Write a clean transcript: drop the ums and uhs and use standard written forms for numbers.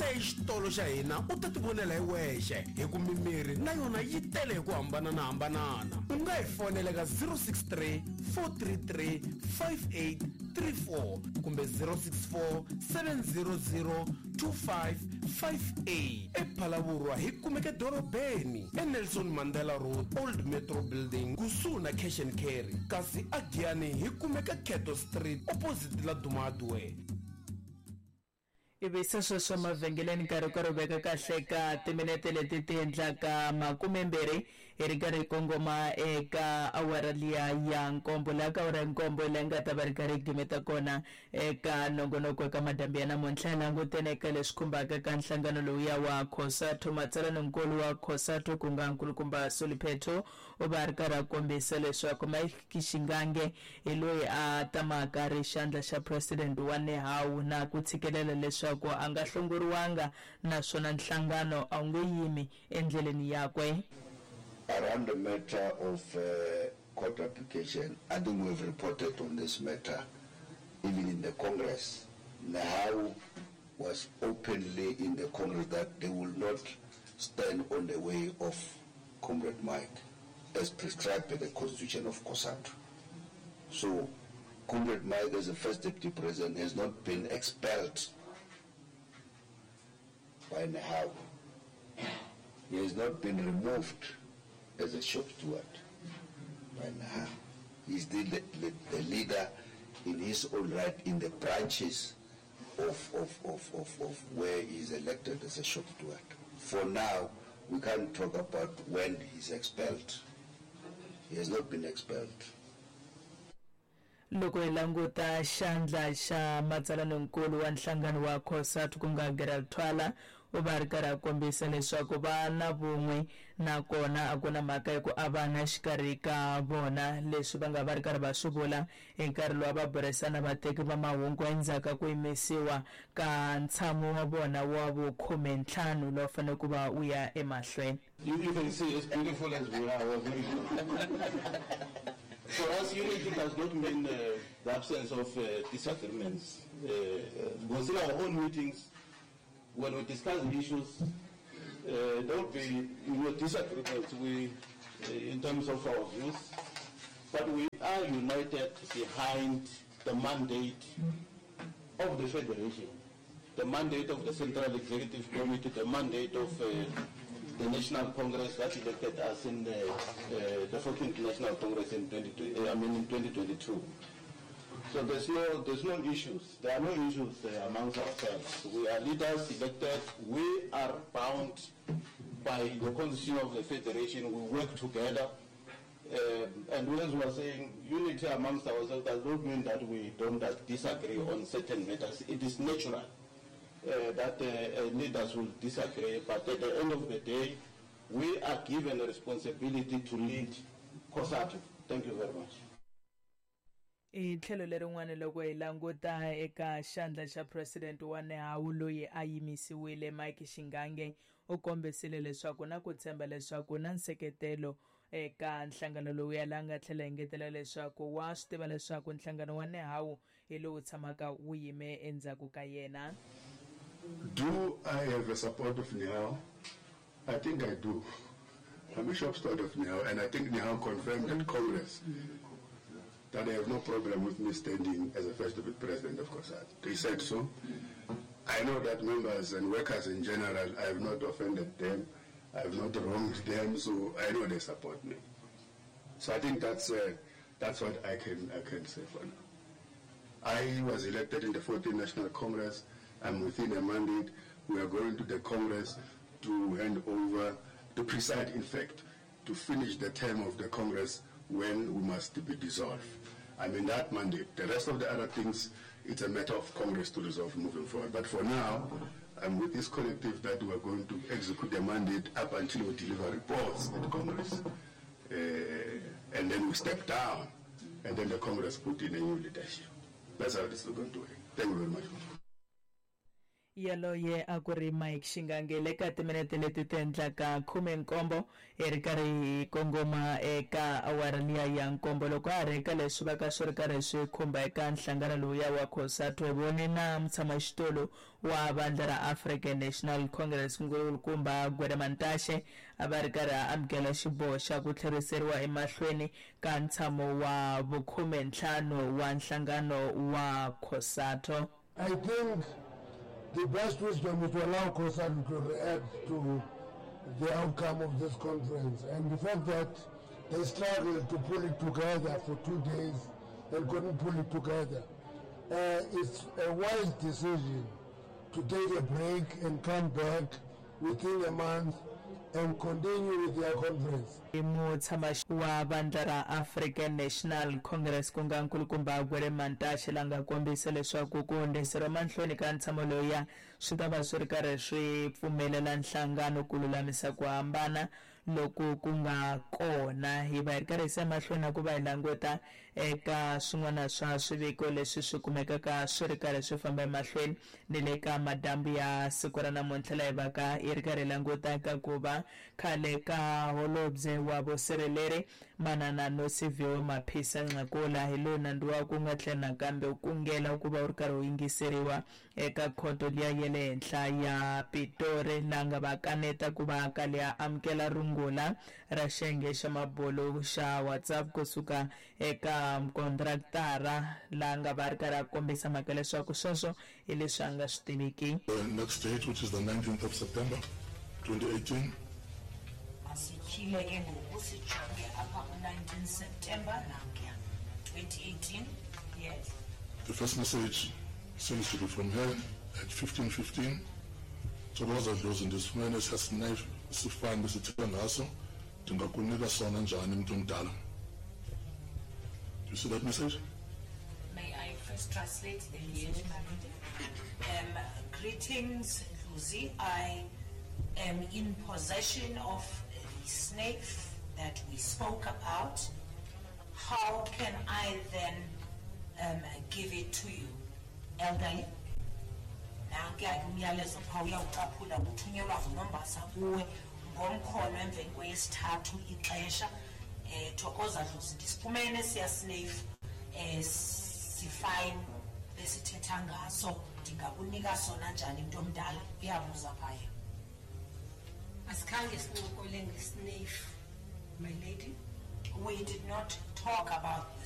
Ta exitolo xa hina u ta tivonela hi wexe hi ku mimirhi na yona yi tele hi ku hambananahambanana. U nga hi fonela eka 063 433 5834 kumbe 064 700 2558. EPhalavurwa hi kumeka edorobeni eNelson Mandela Road, Old Metro Building, kusuhi na Cash and Carry, kasi aGiyani hi kumeka Cato Street opposite Laduma Hardware. Ivi se sweswo emavhengeleni nkarhi ku ri veka kahle ka timinete leti ti endlaka makumembirhi hi ri karhi hi kongoma eka awara liya ya nkombo. Laha ka awara ya nkombo hi laha hi nga ta va ri karhi hi gimeta kona eka nongonoko eka madyambu ya namuntlha. Hi langutene eka leswi khumbaka ka nhlangano lowuya wa COSATU. Matsalaninkulu wa COSATU ku nga Nkulukumba Solly Phetho u va a ri karhi a kombisa leswaku Mike Shingange hi loyi a tamaka a ri xandla xa president wa NEHAWU na ku tshikelela leswaku a nga hlongoriwanga naswona nhlangano a wu nge yimi endleleni yakwe. Around the matter of court application, I think we have reported on this matter even in the Congress. NEHAWU was openly in the Congress that they will not stand on the way of Comrade Mike as prescribed by the Constitution of COSATU. So Comrade Mike as the first deputy president has not been expelled by NEHAWU. He has not been removed as a shop steward by NEHAWU. He's still the leader in his own right in the branches of where he is elected as a shop steward. For now, we can't talk about when he's expelled. He has not been expelled. Loko hi languta xandla xa matsalaninkulu wa nhlangano wa COSATU ku nga Gerald Thwala, u va a ri karhi a kombisa leswaku va na vun'we nakona a ku na mhaka ya ku avana exikarhi ka vona. Leswi va nga va ri karhi va swi vula hi nkarhi lowu a va burisana vateki va mahungu endzhaku ka ku yimisiwa ka ntshamo wa vona wa vukhume-ntlhanu lowu fanele ku va wu ya emahlweni. You can see as beautiful as we are, we are very good. For us, unity does not mean the absence of disagreements. Because in our own meetings, when we discuss issues, there will be disagreements in terms of our views, but we are united behind the mandate of the Federation, the mandate of the Central Executive Committee, the mandate of the National Congress that elected us in the 14th National Congress in twenty, I mean in 2022. So there's no issues. There are no issues amongst ourselves. We are leaders elected. We are bound by the Constitution of the Federation. We work together. And as we are saying, unity amongst ourselves does not mean that we don't disagree on certain matters. It is natural that leaders will disagree, but at the end of the day, we are given a responsibility to lead COSATU. Thank you very much. Hi tlhelo lerin'wana loko hi languta eka xandla xa president wa NEHAWU loyi a yimisiwile Mike Shingange u kombisile leswaku na ku tshemba leswaku na nseketelo eka nhlangano lowuya la nga tlhela engetela leswaku wa swi tiva leswaku nhlangano wa NEHAWU hi lowu tshamaka wu yime endzhaku ka yena. Do I have a support of NEHAWU? I think I do. I'm a shop steward of NEHAWU, and I think NEHAWU confirmed at Congress that they have no problem with me standing as a first deputy president of COSATU. They said so. I know that members and workers in general, I have not offended them, I have not wronged them, so I know they support me. So I think that's what I can say for now. I was elected in the 14th National Congress. I'm within a mandate. We are going to the Congress to hand over, to preside, in fact, to finish the term of the Congress when we must be dissolved. I'm in that mandate. The rest of the other things, it's a matter of Congress to resolve moving forward. But for now, I'm with this collective that we are going to execute the mandate up until we deliver reports at Congress. And then we step down, and then the Congress put in a new leadership. That's how this is going to work. Thank you very much. Yaloye a ku ri Mike Shingange. Le ka timinete leti ti endlaka 17 hi ri karhi hi kongoma eka awara liya ya 7. Loko a ha ri eka leswi va ka swi ri karhi swi khumba eka nhlangano lowuya wa COSATU, hi vone na mutshamaxitulu wa vandla ra African National Congress nkulukumba Gwede Mantashe a va ri karhi a amukela xiboho xa ku tlheriseriwa emahlweni ka ntshamo wa vukhume-ntlhanu wa nhlangano wa COSATU. I think the best wisdom is to allow COSATU to react to the outcome of this conference. And the fact that they struggled to pull it together for 2 days and couldn't pull it together, it's a wise decision to take a break and come back within a month and continue with their conference. I mutshama wa vandla ra African National Congress ku nga nkulukumba Gwede Mantashe la nga kombisa leswaku ku hundziseriwa mahlweni ka ntshamo lowuya swi ta va swi ri karhi swi pfumelela nhlangano ku lulamisa ku hambana loku ku nga kona. Hi va hi ri karhi hi se mahlweni na ku va hi languta eka swin'wana swa swiviko leswi swi kumekaka swi ri karhi swi famba emahlweni ni le ka madyambu ya siku ra namuntlha, laha hi vaka hi ri karhi hi languta eka ku va khale ka holobye wa vusirheleri Manana Nosiviwe Mapisa Nqakula hi loyi nandzu wa ku nga tlhela nakambe wu kungela ku va wu ri karhi wu yingiseriwa eka khoto liya ya le henhla ya Pitori, laha nga va kaneta ku va kale a amukela rungula ra xiyenge xa mabulu xa WhatsApp kusuka eka mukontraktara, laha nga va ri karhi a kombisa mhaka leswaku sweswo hi leswi a nga swi tiviki. The next date, which is the 19th of September 2018. Masityhile ke ngoku sijonge apha ku-19 September nankuya 2018. Yes. The first message seems to be from her at 15:15. Thokoza Dlozi, ndisifumene esiya sifani besithetha ngaso, ndingakunika sona njani mntu omdala? Do you see that message? May I first translate the message, my lady? Greetings, Dlozi. I am in possession of the snake that we spoke about. How can I then give it to you, elderly? Nankuya ke umyalezo phaa uyawucaphula uthunyelwa nguNombasa kuwe ngomkhono emveni kweyesithathu ixesha. Thokoza Dlozi, ndisifumene siya snake sifine besithetha ngaso, ndingakunika sona njani mntu omdala? Uyabuza phaya. Asikhange sincokole ngesnake, my lady. We did not talk about the